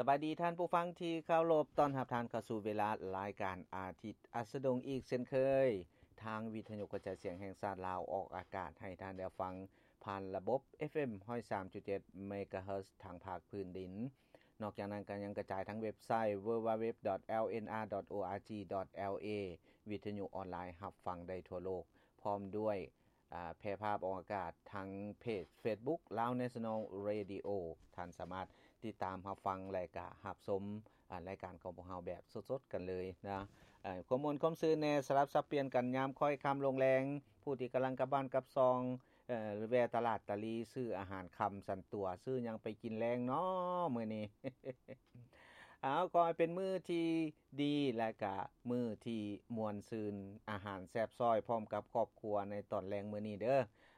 ສະບາຍດີທ່ານຜູ້ຟັງທີ່ເຄົາລົບ, ຕ້ອນຮັບທ່ານເຂົ້າສູ່ເວລາລາຍການອາທິດອັສດງອີກເຊັ່ນເຄີຍ, ທາງວິທະຍຸກະຈາຍສຽງແຫ່ງຊາດລາວ ອອກອາກາດໃຫ້ທ່ານໄດ້ຟັງຜ່ານລະບົບ ເອັຟເອັມ ຮ້ອຍສາມຈຸດເຈັດ ເມກາເຮີດ ທາງພາກພື້ນດິນ. ນອກຈາກນັ້ນກໍຍັງກະຈາຍທາງເວັບໄຊ ดัບເບິນຢູ ດັບເບິນຢູ ດັບເບິນຢູ ດັບເບິນຢູ ດອດ ໂອ ອາ ຈີ ດອດ ແອລ ເອ ວິທະຍຸອອນລາຍຮັບຟັງໄດ້ທົ່ວໂລກ, ພ້ອມດ້ວຍ ອາ ແຜ່ພາບອອກອາກາດທາງເພຈເຟສບຸກ Lao National Radio. ທ່ານສາມາດຕິດຕາມຮັບຟັງ ແລະ ກະຮັບຊົມ ອາ ລາຍການຂອງພວກເຮົາແບບສົດໆກັນເລີຍນະ. ເອີ ຄວາມມ່ວນຄວາມຊື່ນແດ່ ສະຫຼັບສັບປ່ຽນກັນຍາມຄ່ອຍຄ່ຳລົງແລງ, ຜູ້ທີ່ກຳລັງກັບບ້ານກັບຊ່ອງ ເອີ ແວ່ຕະຫຼາດຕາລີ ຊື້ອາຫານຄ່ຳສັນຕົວະ, ຊື້ຫຍັງໄປກິນແລງເນາະມື້ນີ້? ເອົາ ຂໍໃຫ້ເປັນມື້ທີ່ດີ ແລະ ກະມື້ທີ່ມ່ວນຊື່ນ, ອາຫານແຊບຊ້ອຍພ້ອມກັບຄອບຄົວໃນຕອນແລງມື້ນີ້ເດີ.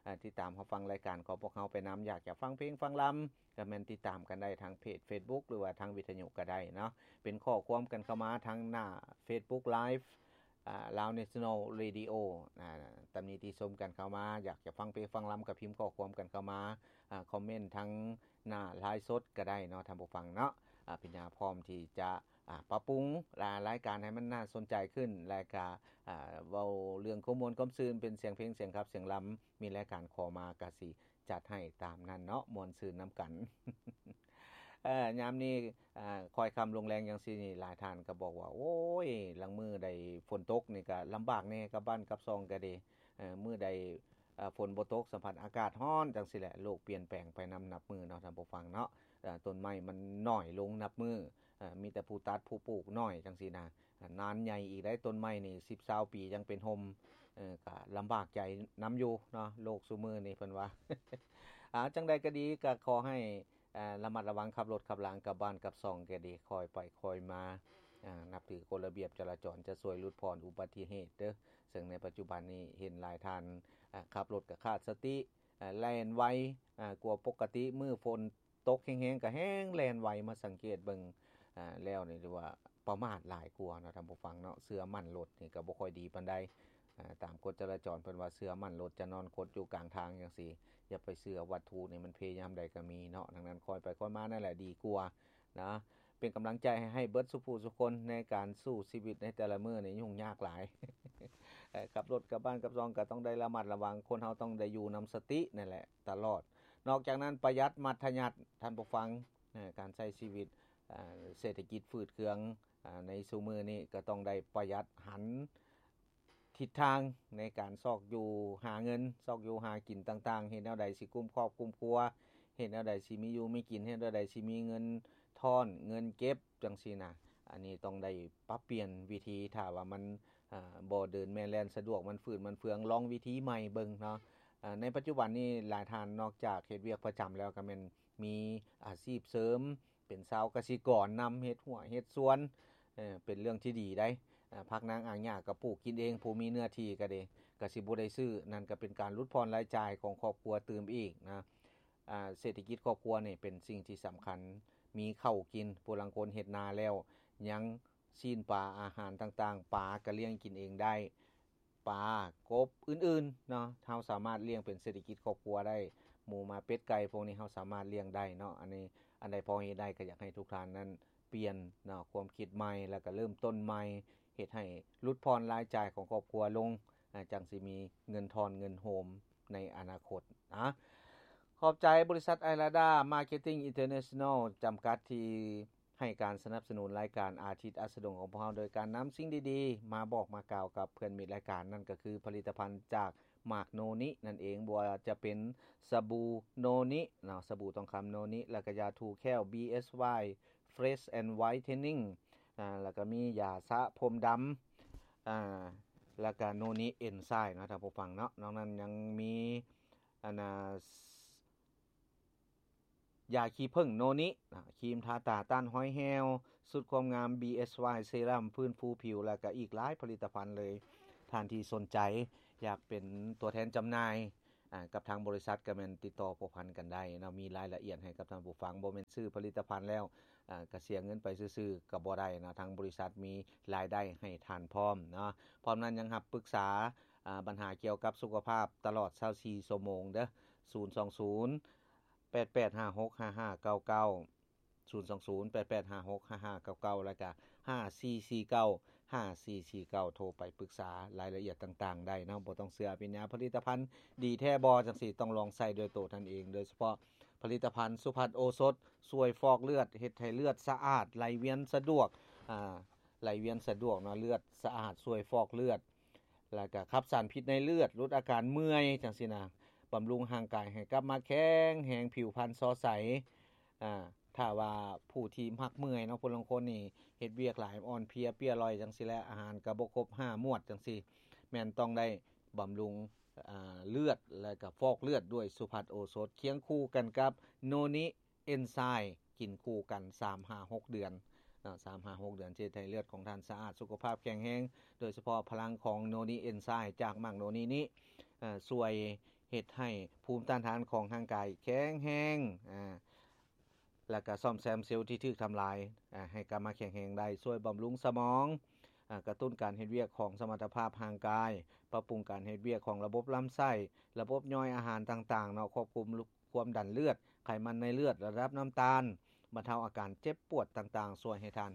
ອາ ຕິດຕາມຮັບຟັງລາຍການຂອງພວກເຮົາໄປນຳ, ຢາກຈະຟັງເພງຟັງລຳ ກໍແມ່ນຕິດຕາມກັນໄດ້ທາງເພຈເຟສບຸກ ຫຼືວ່າທາງວິທະຍຸກໍໄດ້ເນາະ, ເປັນຂໍ້ຄວາມກັນເຂົ້າມາທາງໜ້າເຟສບຸກ Live ອາ Lao National Radio ອາ ຕຳໜິຕິຊົມກັນເຂົ້າມາ, ຢາກຈະຟັງເພງຟັງລຳກໍພິມຂໍ້ຄວາມກັນເຂົ້າມາ, ອາ ຄອມເມັນທາງໜ້າໄລຟ໌ສົດກໍໄດ້ເນາະທ່ານຜູ້ຟັງເນາະ. ອາ ພິນຍາພ້ອມທີ່ຈະ ອາ ປັບປຸງລາຍການໃຫ້ມັນໜ້າສົນໃຈຂຶ້ນ ແລະ ກະ ອາ ເວົ້າເລື່ອງຄວາມມ່ວນຄວາມຊື່ນ ເປັນສຽງເພງ ສຽງຂັບ ສຽງລຳ, ມີລາຍການຂໍມາກະຊິ ຈັດໃຫ້ຕາມນັ້ນເນາະ, ມ່ວນຊື່ນນຳກັນ. ເອີ ຍາມນີ້ ອາ ຄ່ອຍຄ່ຳລົງແລງຈັ່ງຊີ້ນີ້ ຫຼາຍທ່ານກໍບອກວ່າ ໂອ້ຍ ລາງມື້ໃດຝົນຕົກນີ້ກໍລຳບາກແດ່, ກັບບ້ານກັບຊ່ອງກໍດີ. ເອີ ມື້ໃດ ອາ ຝົນບໍ່ຕົກ ສຳພັດອາກາດຮ້ອນຈັ່ງຊີ້ແຫຼະ, ໂລກປ່ຽນແປງໄປນຳນັບມື້ເນາະທ່ານຜູ້ຟັງເນາະ. ອາ ຕົ້ນໄມ້ມັນໜ້ອຍລົງນັບມື້, ອາ ມີແຕ່ຜູ້ຕັດຜູ້ປູກໜ້ອຍຈັ່ງຊີ້ນະ. ອາ ນານໃຫຍ່ອີກໄດ໋, ຕົ້ນໄມ້ນີ້ສິບຊາວປີຍັງເປັນຮົ່ມ, ເອີ ກະລຳບາກໃຈນຳຢູ່ເນາະ ໂລກຊຸມື້ນີ້ເພິ່ນວ່າ. ອາ ຈັ່ງໃດກໍດີ ກໍຂໍໃຫ້ ອາ ລະມັດລະວັງຂັບລົດຂັບລາງກັບບ້ານກັບຊ່ອງກໍດີ, ຄ່ອຍໄປຄ່ອຍມາ, ອາ ນັບຖືກົດລະບຽບຈະລາຈອນຈະຊ່ວຍຫຼຸດຜ່ອນອຸບັດຕິເຫດເດີ. ເຊິ່ງໃນປັດຈຸບັນນີ້ເຫັນຫຼາຍທ່ານ ອາ ຂັບລົດກໍຂາດສະຕິ, ອາ ແລ່ນໄວ ອາ ກວ່າປົກກະຕິ, ມື້ຝົນ ຕົກແຮງໆກໍແຮ່ງແລ່ນໄວ, ມາສັງເກດເບິ່ງ ອາ ແລ້ວນີ້ຖືວ່າປະໝາດຫຼາຍກວ່າເນາະທ່ານຜູ້ຟັງເນາະ. ເຊື່ອໝັ້ນລົດນີ້ກໍບໍ່ຄ່ອຍດີປານໃດ. ອາ ຕາມກົດຈະລາຈອນເພິ່ນວ່າ ເຊື່ອໝັ້ນລົດຈະນອນຄົດຢູ່ກາງທາງຈັ່ງຊີ້, ຢ່າໄປເຊື່ອວັດຖຸນີ້, ມັນເພຍາມໃດກໍມີເນາະ. ດັ່ງນັ້ນ ຄ່ອຍໄປຄ່ອຍມານັ້ນແຫຼະດີກວ່ານະ. ເປັນກຳລັງໃຈໃຫ້ ໃຫ້ເບິດສູ່ຜູ້ສູ່ຄົນໃນການສູ້ຊີວິດໃນແຕ່ລະມື້ນີ້ ຫຍຸ້ງຍາກຫຼາຍ. ເອີ ຂັບລົດກັບບ້ານກັບຊ່ອງກໍຕ້ອງໄດ້ລະມັດລະວັງ, ຄົນເຮົາຕ້ອງໄດ້ຢູ່ນຳສະຕິນັ້ນແຫຼະ ຕະຫຼອດ. ນອກຈາກນັ້ນ ປະຢັດມັດທະຍັດ ທ່ານຜູ້ຟັງ, ເອີ ການໃຊ້ຊີວິດ ເອີ ເສດຖະກິດຝືດເຄືອງ ເອີ ໃນຊຸມື້ນີ້ ກໍຕ້ອງໄດ້ປະຢັດ, ຫັນທິດທາງໃນການຊອກຢູ່ຫາເງິນ, ຊອກຢູ່ຫາກິນຕ່າງໆ, ເຮັດແນວໃດຊິກຸ້ມຄອບກຸ້ມຄົວ, ເຮັດແນວໃດຊິມີຢູ່ມີກິນ, ເຮັດແນວໃດຊິມີເງິນທ້ອນເງິນເກັບ ຈັ່ງຊີ້ນະ. ອັນນີ້ຕ້ອງໄດ້ປັບປ່ຽນວິທີ, ຖ້າວ່າມັນ ເອີ ບໍ່ເດີນແມ່ນແລ່ນສະດວກ, ມັນຝືດມັນເຟືອງ, ລອງວິທີໃໝ່ເບິ່ງເນາະ. ເອີ ໃນປັດຈຸບັນນີ້ຫຼາຍທ່ານນອກຈາກເຮັດວຽກປະຈຳແລ້ວ ກໍແມ່ນມີອາຊີບເສີມ ເປັນຊາວກະສິກອນນຳ, ເຮັດຮົ້ວເຮັດສວນ, ເອີ ເປັນເລື່ອງທີ່ດີໄດ໋. ເອີ ຜັກນາງອາຫຍ້າກໍປູກກິນເອງ, ຜູ້ມີເນື້ອທີ່ກໍດີ ກໍຊິບໍ່ໄດ້ຊື້, ນັ້ນກໍເປັນການຫຼຸດຜ່ອນລາຍຈ່າຍຂອງຄອບຄົວຕື່ມອີກນະ. ອາ ເສດຖະກິດຄອບຄົວນີ້ເປັນສິ່ງທີ່ສຳຄັນ, ມີເຂົ້າກິນ, ຜູ້ລາງຄົນເຮັດນາແລ້ວ ຍັງຊີ້ນປາອາຫານຕ່າງໆ, ປາກໍລ້ຽງກິນເອງໄດ້, ປາ ກົບ ອື່ນໆເນາະ, ເຮົາສາມາດລ້ຽງເປັນເສດຖະກິດຄອບຄົວໄດ້. ໝູໝາ ເປັດ ໄກ່ ພວກນີ້ເຮົາສາມາດລ້ຽງໄດ້ເນາະ. ອັນນີ້ ອັນໃດພໍເຮັດໄດ້ກໍຢາກໃຫ້ທຸກທ່ານນັ້ນປ່ຽນເນາະ ຄວາມຄິດໃໝ່ ແລ້ວກໍເລີ່ມຕົ້ນໃໝ່, ເຮັດໃຫ້ຫຼຸດຜ່ອນລາຍຈ່າຍຂອງຄອບຄົວລົງ, ອາ ຈັ່ງຊິມີເງິນທ້ອນເງິນໂຮມໃນອະນາຄົດ. ອາ ຂອບໃຈບໍລິສັດ ໄອລາດາ ມາເກັດຕິງ ອິນເຕີເນຊັນແນລ ຈຳກັດ ທີ່ ໃຫ້ການສະໜັບສະໜູນລາຍການອາທິດອັສດງຂອງພວກເຮົາ ໂດຍການນຳສິ່ງດີໆມາບອກມາກ່າວກັບເພື່ອນມິດລາຍການ, ນັ້ນກໍຄືຜະລິດຕະພັນຈາກໝາກໂນນິນັ້ນເອງ, ບໍ່ວ່າຈະເປັນສະບູໂນນິເນາະ, ສະບູທອງຄຳໂນນິ, ແລ້ວກໍຢາຖູແຂ້ວ ບີເອສວາຍ Fresh and Whitening, ອາ ແລ້ວກໍມີຢາສະຜົມດຳ, ອາ ແລ້ວກໍໂນນິເອັນໄຊເນາະ ທ່ານຜູ້ຟັງເນາະ. ນອກນັ້ນຍັງມີ ອັນນ່າ ຢາຂີ້ເຜິ້ງໂນນິ, ອາ ຄຣີມທາຕາຕ້ານຮອຍແຫ້ວ, ສູດຄວາມງາມ ບີເອສວາຍ ເຊຣັມຟື້ນຟູຜິວ ແລ້ວກະອີກຫຼາຍຜະລິດຕະພັນເລີຍ. ທ່ານທີ່ສົນໃຈຢາກເປັນຕົວແທນຈຳໜ່າຍ ອາ ກັບທາງບໍລິສັດ ກະແມ່ນຕິດຕໍ່ພົວພັນກັນໄດ້ເນາະ, ມີລາຍລະອຽດໃຫ້ກັບທ່ານຜູ້ຟັງ. ບໍ່ແມ່ນຊື້ຜະລິດຕະພັນແລ້ວ ອາ ກະເສຍເງິນໄປຊື່ໆ ກະບໍ່ໄດ້ເນາະ, ທາງບໍລິສັດມີລາຍໄດ້ໃຫ້ທ່ານພ້ອມເນາະ. ພ້ອມນັ້ນຍັງຮັບປຶກສາ ອາ ບັນຫາກ່ຽວກັບສຸຂະພາບຕະຫຼອດຊາວສີ່ຊົ່ວໂມງເດີ, ສູນສອງສູນ ແປດແປດຫ້າຫົກຫ້າຫ້າເກົ້າເກົ້າ, ສອງ ສອງ ສອງ ແປດ ແປດ ຫ້າ ຫົກ ຫ້າ ຫ້າ ເກົ້າ ເກົ້າ ແລ້ວກະ ຫ້າ ສີ່ ສີ່ ເກົ້າ ຫ້າ ສີ່ ສີ່ ເກົ້າ ໂທໄປປຶກສາລາຍລະອຽດຕ່າງໆໄດ້ເນາະ. ບໍ່ຕ້ອງເຊື່ອ ເປັນຍາຜະລິດຕະພັນດີແທ້ບໍ່ ຈັ່ງຊີ້ ຕ້ອງລອງໃຊ້ດ້ວຍໂຕທ່ານເອງ. ໂດຍສະເພາະຜະລິດຕະພັນສຸພັດໂອສົດ ຊ່ວຍຟອກເລືອດ ເຮັດໃຫ້ເລືອດສະອາດ ໄຫຼວຽນສະດວກ ອ່າ ໄຫຼວຽນສະດວກເນາະ ເລືອດສະອາດ ຊ່ວຍຟອກເລືອດ ແລ້ວກະຂັບສານພິດໃນເລືອດ ຫຼຸດອາການເມື່ອຍ ຈັ່ງຊີ້ນະ. ບຳລຸງຮ່າງກາຍໃຫ້ກັບມາແຂງແຮງ ຜິວພັນສໍໃສ. ອ່າ ຖ້າວ່າຜູ້ທີ່ມັກເມື່ອຍເນາະ ຜູ້ລາງຄົນນີ້ເຮັດວຽກຫຼາຍ ອ່ອນເພຍເປຍລອຍ ຈັ່ງຊີ້ແຫຼະ ອາຫານກະບໍ່ຄົບຫ້າໝວດ ຈັ່ງຊີ້ ແມ່ນຕ້ອງໄດ້ບຳລຸງ ອ່າ ເລືອດ ແລະກະຟອກເລືອດດ້ວຍສຸພັດໂອສົດ ຄຽງຄູ່ກັນກັບໂນນິ ເອນໄຊ ກິນຄູ່ກັນ ສາມຫາຫົກເດືອນເນາະ ສາມຫາຫົກເດືອນ ຈະເຮັດໃຫ້ເລືອດຂອງທ່ານສະອາດ ສຸຂະພາບແຂງແຮງ. ໂດຍສະເພາະພະລັງຂອງໂນນິ ເອນໄຊ ຈາກໝາກໂນນິນີ້ ເອີ່ ຊ່ວຍເຮັດໃຫ້ພູມຕ້ານທານຂອງຮ່າງກາຍແຂງແຮງ ອາ ແລ້ວກະສ້ອມແຊມເຊວທີ່ຖືກທຳລາຍ ອາ ໃຫ້ກັບມາແຂງແຮງໄດ້, ຊ່ວຍບຳລຸງສະໝອງ ອາ ກະຕຸ້ນການເຮັດວຽກຂອງສະມັດຕະພາບຮ່າງກາຍ, ປັບປຸງການເຮັດວຽກຂອງລະບົບລຳໄສ້, ລະບົບຍ່ອຍອາຫານຕ່າງໆເນາະ, ຄວບຄຸມຄວາມດັນເລືອດ, ໄຂມັນໃນເລືອດ, ລະດັບນ້ຳຕານ, ບັນເທົາອາການເຈັບປວດຕ່າງໆ, ຊ່ວຍໃຫ້ທ່ານ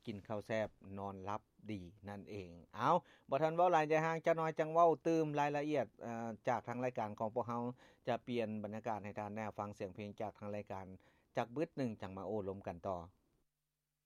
ກິນເຂົ້າແຊບ, ນອນຫຼັບດີນັ້ນເອງ. ເອົາ, ບໍ່ທັນເວົ້າຫຼາຍໃຈຫ່າງ, ຈັກໜ້ອຍຈັ່ງເວົ້າຕື່ມລາຍລະອຽດ, ເອີ່, ຈາກທາງລາຍການຂອງພວກເຮົາຈະປ່ຽນບັນຍາກາດໃຫ້ທ່ານໄດ້ຟັງສຽງເພງຈາກທາງລາຍການ ຈັກບຶດໜຶ່ງຈັ່ງມາໂອ້ລົມກັນຕໍ່.